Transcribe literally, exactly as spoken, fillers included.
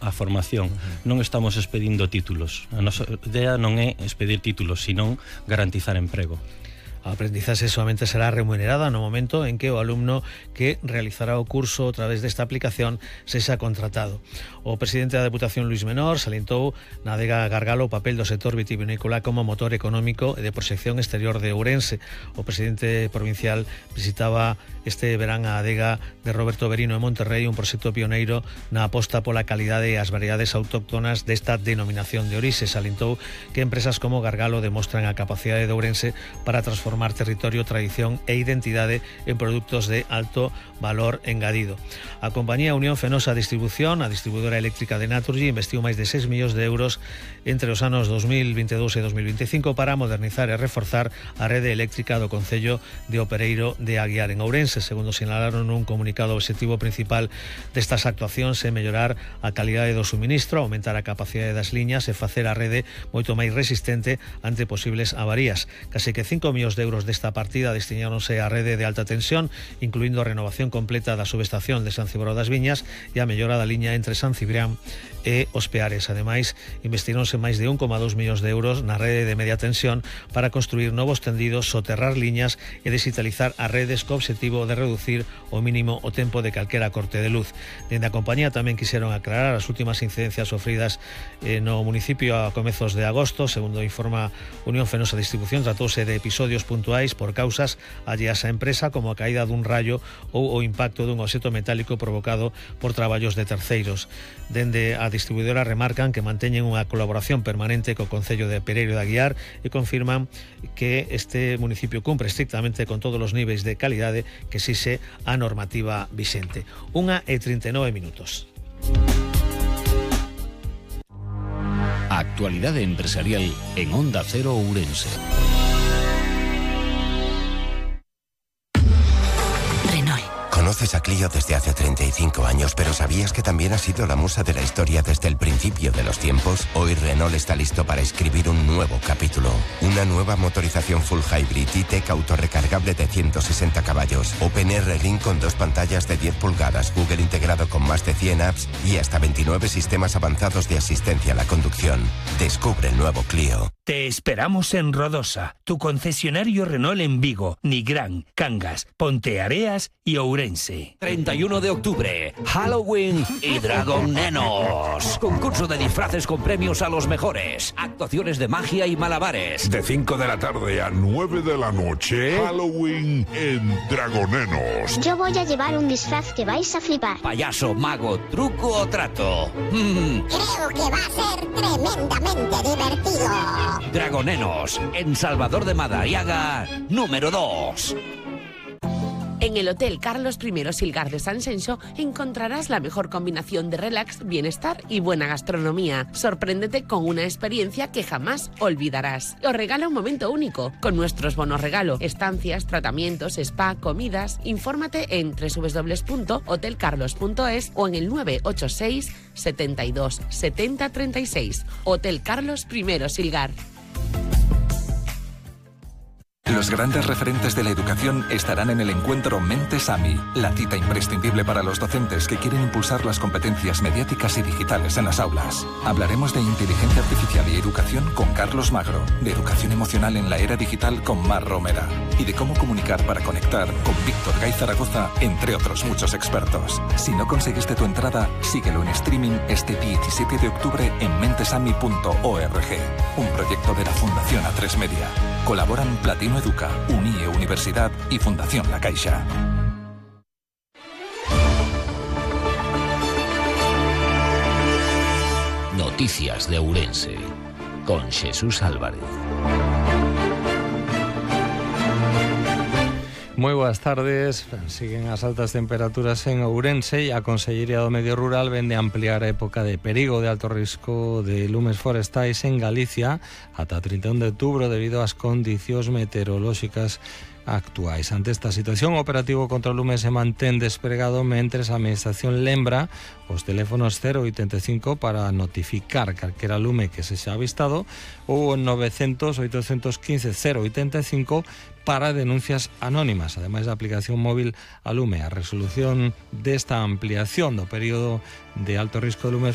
a formación. Uh-huh. Non estamos expedindo títulos. A nosa idea non é expedir títulos, senón garantizar emprego. A aprendizaxe somente será remunerada no momento en que o alumno que realizará o curso a través desta aplicación sexa contratado. O presidente da Deputación, Luís Menor, salientou na adega Gargalo o papel do sector vitivinícola como motor económico e de proxección exterior de Ourense. O presidente provincial visitaba este verán a adega de Roberto Berino en Monterrey, un proxecto pioneiro na aposta pola calidade e as variedades autóctonas desta denominación de orixe. Salientou que empresas como Gargalo demostran a capacidade de Ourense para transformar formar territorio, tradición e identidade en produtos de alto valor engadido. A compañía Unión Fenosa Distribución, a distribuidora eléctrica de Naturgy, investiu máis de seis millóns de euros entre os anos dos mil vinte e dous e dos mil veinticinco para modernizar e reforzar a rede eléctrica do concello de Opereiro de Aguiar en Ourense. Segundo sinalaron un comunicado, o obxectivo principal destas actuacións é mellorar a calidade do suministro, aumentar a capacidade das liñas e facer a rede moito máis resistente ante posibles avarías. Case que cinco millóns de euros desta partida destináronse á rede de alta tensión, incluindo a renovación completa da subestación de San Cibrao das Viñas e a mellora da liña entre San Cibrián e Os Peares. Ademais, investironse máis de un coma dous millóns de euros na rede de media tensión para construir novos tendidos, soterrar liñas e digitalizar as redes co obxectivo de reducir o mínimo o tempo de calquera corte de luz. Dende a compañía tamén quixeron aclarar as últimas incidencias sofridas eh, no municipio a comezos de agosto. Segundo informa Unión Fenosa Distribución, tratouse de episodios puntuais por causas alleas á empresa, como a caída dun rayo ou o impacto dun obxecto metálico provocado por traballos de terceiros. Dende a distribuidora remarcan que manteñen unha colaboración permanente co Concello de Pereiro de Aguiar e confirman que este municipio cumpre estrictamente con todos os niveis de calidade que exixe a normativa vixente. Unha e trinta e nove minutos. Actualidade empresarial en Onda Cero Ourense. Conoces a Clio desde hace treinta y cinco años, pero ¿sabías que también ha sido la musa de la historia desde el principio de los tiempos? Hoy Renault está listo para escribir un nuevo capítulo. Una nueva motorización full hybrid E-Tech autorrecargable de ciento sesenta caballos, OpenR Ring con dos pantallas de diez pulgadas, Google integrado con más de cien apps y hasta veintinueve sistemas avanzados de asistencia a la conducción. Descubre el nuevo Clio. Te esperamos en Rodosa, tu concesionario Renault en Vigo, Nigrán, Cangas, Ponteareas y Ourense. treinta y uno de octubre, Halloween y Dragon Nenos. Concurso de disfraces con premios a los mejores. Actuaciones de magia y malabares. De cinco de la tarde a nueve de la noche, Halloween en Dragonenos. Yo voy a llevar un disfraz que vais a flipar. Payaso, mago, truco o trato. Mm. Creo que va a ser tremendamente divertido. Dragonenos, en Salvador de Madariaga, número dos. En el Hotel Carlos primero Silgar de San Xenxo encontrarás la mejor combinación de relax, bienestar y buena gastronomía. Sorpréndete con una experiencia que jamás olvidarás. Os regala un momento único con nuestros bonos regalo, estancias, tratamientos, spa, comidas. Infórmate en doble u doble u doble u punto hotel carlos punto es o en el nueve ocho seis, setenta y dos, setenta, treinta y seis. Hotel Carlos primero Silgar. Los grandes referentes de la educación estarán en el encuentro Mentes AMI, la cita imprescindible para los docentes que quieren impulsar las competencias mediáticas y digitales en las aulas. Hablaremos de inteligencia artificial y educación con Carlos Magro, de educación emocional en la era digital con Mar Romera y de cómo comunicar para conectar con Víctor Gay Zaragoza, entre otros muchos expertos. Si no conseguiste tu entrada, síguelo en streaming este diecisiete de octubre en mentesami punto org, un proyecto de la Fundación A tres Media. Colaboran Platino Educa, UNIE Universidad y Fundación La Caixa. Noticias de Ourense con Jesús Álvarez. Moi boas tardes. Siguen as altas temperaturas en Ourense e a Consellería do Medio Rural vende ampliar a época de perigo de alto risco de lumes forestais en Galicia ata trinta e un de outubro debido ás condicións meteorolóxicas actuais. Ante esta situación, o operativo contra o lume se mantén despregado mentres a Administración lembra os teléfonos cero oitenta e cinco para notificar calquera lume que se xa avistado ou novecientos, oitocentos quince, cero oitenta e cinco para denuncias anónimas, ademais da aplicación móvil a lume. A resolución desta ampliación do período de alto risco de lumes